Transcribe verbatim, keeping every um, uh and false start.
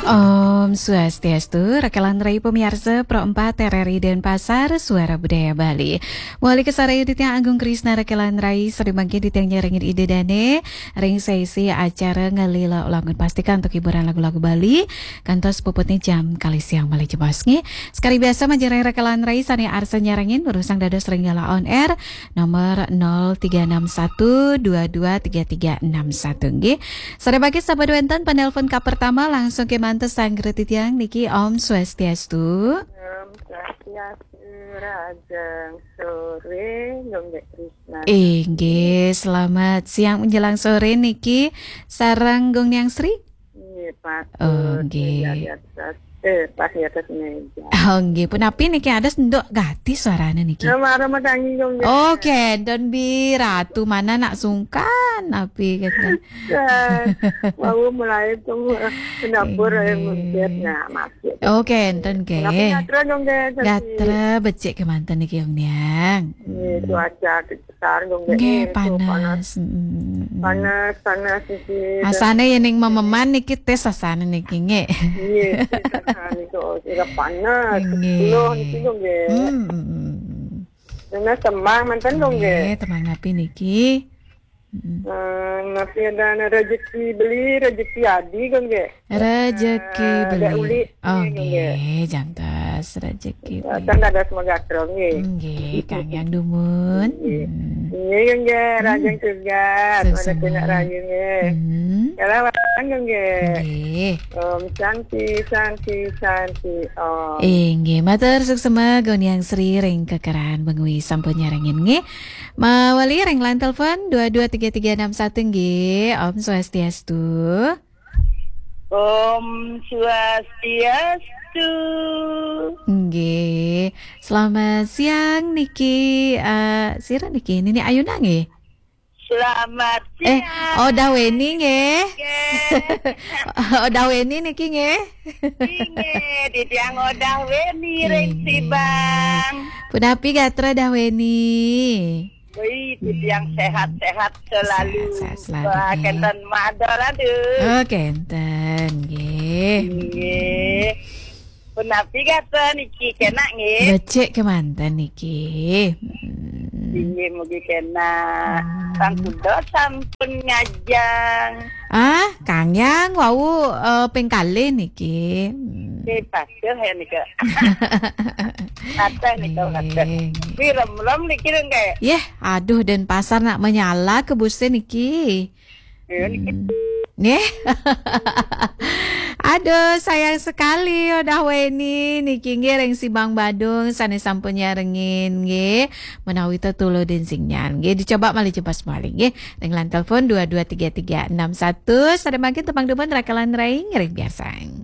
Om Swastiastu, rekan rai pamiarsa Pro empat R R I Denpasar, Suara Budaya Bali. Mawali kasarengin titiang Agung Krisna rekan rai, sareng mangkin titiang nyarengin Ida Dane ring sesi acara Ngelila Ulangun Pastika antuk hiburan lagu-lagu Bali, kantos puputnya jam kalih siang malih jebos nggih. Sakadi biasa majeng rekan rai sane arsa nyarengin, durusang dados ring Gala On Air, nomor nol tiga enam satu dua dua tiga tiga enam satu nggih. Sareng mangkin sampun wenten penelpon kapertama, langsung kemanten sareng titiang niki. Om Swastiastu. Om Swastiastu, rahajeng sore, Gung Dek Krisna. Inggih, selamat siang menjelang sore niki sareng Gung Niang Sri. Nggih, Pak. Oh, nggih. Di atas, eh, pas di atas meja. Oh, nggih. Punapi niki, adas nduk gati suarane niki? Ya, mara matangi, Gung Dek. Oh, kenten bi, Ratu mana nak sungkan, api kenten. Ya, mau mulai tuh, eh, ke dapur, eh, nggih. Mampir, nah, masuk. Oh, kenten, nggih. Tapi gatra, Gung Dek, tapi gatra becik kemanten niki, Gung Niang. Nggih, cuaca sekarang, Gung Dek, nggih, eh, tuh panas. Panas. Mm, mm, mm. Panas, panas niki. Asane yen ning mememan niki tes asane niki, nggih. Nggih, tes asane kok, kira panas, nggih. Sepuluh niki, Gung Dek. Mm, mm, mm. Dengan tembang manten, Gung Dek. Nggih, tembang napi niki? Mm. Eh, napi ada rezeki beli, rezeki adi, Gung Dek. Rezeki eh, beli. Ada uli, oh, nggih, nggih. Nggih, jantos rezeki beli. Kan ada semoga terus, nggih. Nggih, Kang Yang Dumun. Nggih. Hmm. Nggih, nggih, hmm. Rahajeng tugas, sukses, mana kena raya, nggih. Hmm. Kalau orang, nggih. Nggih. Om Santi, Santi, Santi, Om. Inggih, matur suksma Gung Niang Sri ring kekeran bengi sampun nyarengin, nggih. Mawali ring line telepon dua dua tiga tiga enam satu, nggih. Om Swastiastu. Om Swastiastu. Nggih. Selamat siang niki, eh, sira niki, Nini Ayuna nggih? Selamat siang. Eh, Odah Weni nggih? Nggih. Odah Weni niki nggih? Inggih, titiang Odah Weni ring Sibang. Punapi gatra Dah Weni? Wih, titiang sehat-sehat selalu. Sehat-sehat selalu, nggih. Wah, kenten madol, aduh. Oh, kenten, nggih. Nggih. Punapi gatra niki, kenak, nggih? Becik kemanten niki. Hmm. Inggih, mugi kenak. Hmm. Sang kuda sampun ngajeng. Ah, Kang Yang, wau, eh, ping kalih niki. Hmm. Nggih, patuh ya nika. Patuh nika, patuh. Nggih. Wi, remlem niki lho, nggih. Yeh, aduh, Denpasar nak menyala ke busnya niki. Nggih, niki. Hmm. Nggih. Aduh, sayang sekali, Odah Weni niki nggih ring Sibang Badung sane sampun nyarengin nggih. Menawi tetuludin sinyal nggih, dicoba malih jebos malih nggih. Ring line telepon dua dua tiga tiga enam satu, sareng mangkin tembang dumun rekan rai ngiring piarsang.